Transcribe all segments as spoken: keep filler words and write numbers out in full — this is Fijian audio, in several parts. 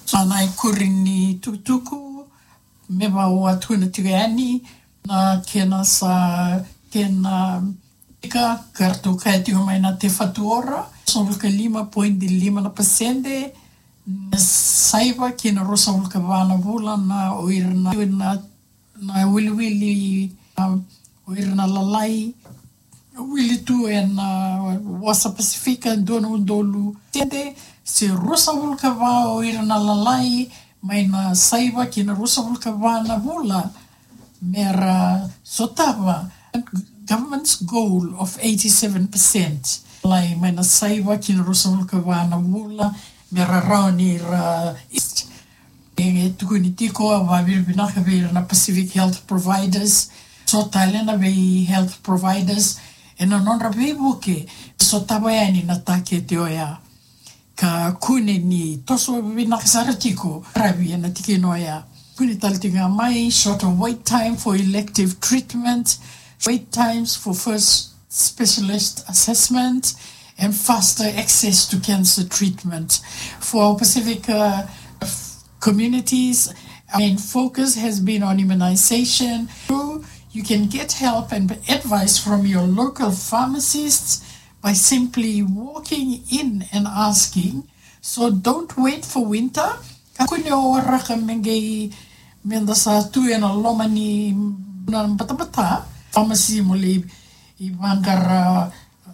So na ikuri ni tukutuku me vaka au a tukuna tiko yani, na kena sa, kena ika, ka ratou kaya tiko mai na Te Whatu Ora, ruasagavulu ka lima poidi lima na pasede, na saiva ki na ruasagavulu ka va na vula na o ira na, na, na wiliwili, um, o ira na lalai, wili tu ena wasa Pasifika, dua na udolu sede, se ruasagavulu ka va o ira na lalai, mai na saiva ki na ruasagavulu ka va na vula, me ra sotava government's goal of eighty-seven percent. Lai mai na saiva ki na ruasagavulu ka va na vula, me ra rawa ni ra east. E tukuni tiko, au vakavinavinaka vei ira na Pacific Health Providers, so tale na vei health providers, ena nodra veivuke, sotava yani na takete oya. Ka kune ni toso vinaka sara tiko, ravi ena tikina oya. Kune tale tiko ga mai, shorter wait time for elective treatment, wait times for first specialist assessment, and faster access to cancer treatment. For our Pacific, uh, communities, our main focus has been on immunization. You can get help and advice from your local pharmacists by simply walking in and asking. So don't wait for winter. Kakua ni o waraka me qai, me da sa tu ena loma ni na batabata. Pharmacy mo lai vaqara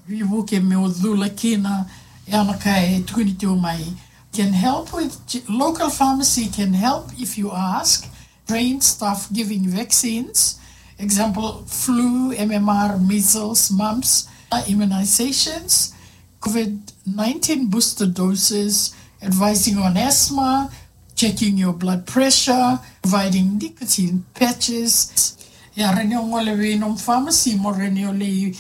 veivuke me o cula kina, ya na ka e tukuni tiko mai. Can help with, local pharmacy can help if you ask. Trained staff giving vaccines, example, flu, M M R, measles, mumps, uh, immunizations, COVID nineteen booster doses, advising on asthma, checking your blood pressure, providing nicotine patches. Ia, rawa ni o gole vei nomu pharmacy mo rawa ni o lai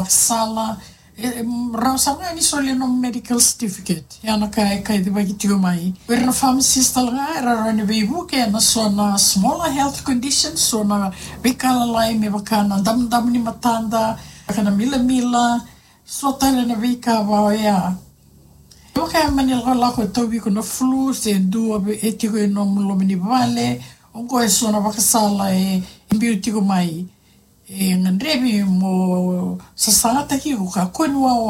sala, e, e, rawa sara ga ni solia nomu medical certificate. Ia na ka e kacivaki tiko mai. O ira na pharmacist tale ga era rawa ni veivuke ena so na smaller health conditions, so na veika lalai me vaka na damudamu ni matada, vaka na milamila, so tale na veika vaka oya. Vaka e mani lakolako e tauvi iko na flu, se dua e tiko e nomu loma ni vale, oqo e so na vakasala e biu tiko mai. E gadrevi mo sasagataki iko, kakua ni wawa